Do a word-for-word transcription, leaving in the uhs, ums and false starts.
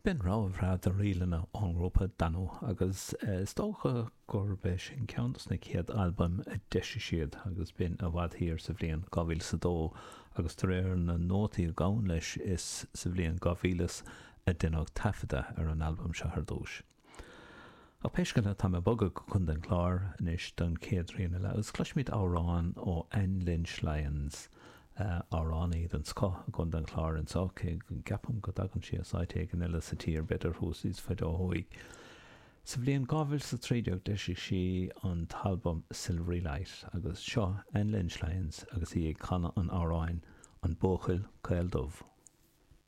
B'in rogha bhreá de ríleanna ón ngrúpa Danú agus is dócha gurb é sin ceann dos na chéad albaim a d'eisigh siad agus b'in i bhfad thiar sa bhliain dhá mhíle is a dó agus de réir na nótaí a ghabhann leis is sa bhliain dhá mhíle a deineadh taifeadadh ar an albam seo ar dtús. Ach pé scéal é, tá mé ag bogadh go Contae an Chláir anois don chéad rian eile agus cloisfimid amhrán ó Anne Lynch Lyons, amhránaí den scoth i gContae an Chláir anseo, cé go gceapaim go dtagann sí as áit éigin eile sa tír, b'fhéidir thuas níos faide ó thuaidh. Sa bhliain dhá mhíle is a trí déag d'eisigh sí an t-albam Silvery Light agus seo Anne Lynch Lyons agus í ag canadh an amhráin An Buachaill Caol Dubh.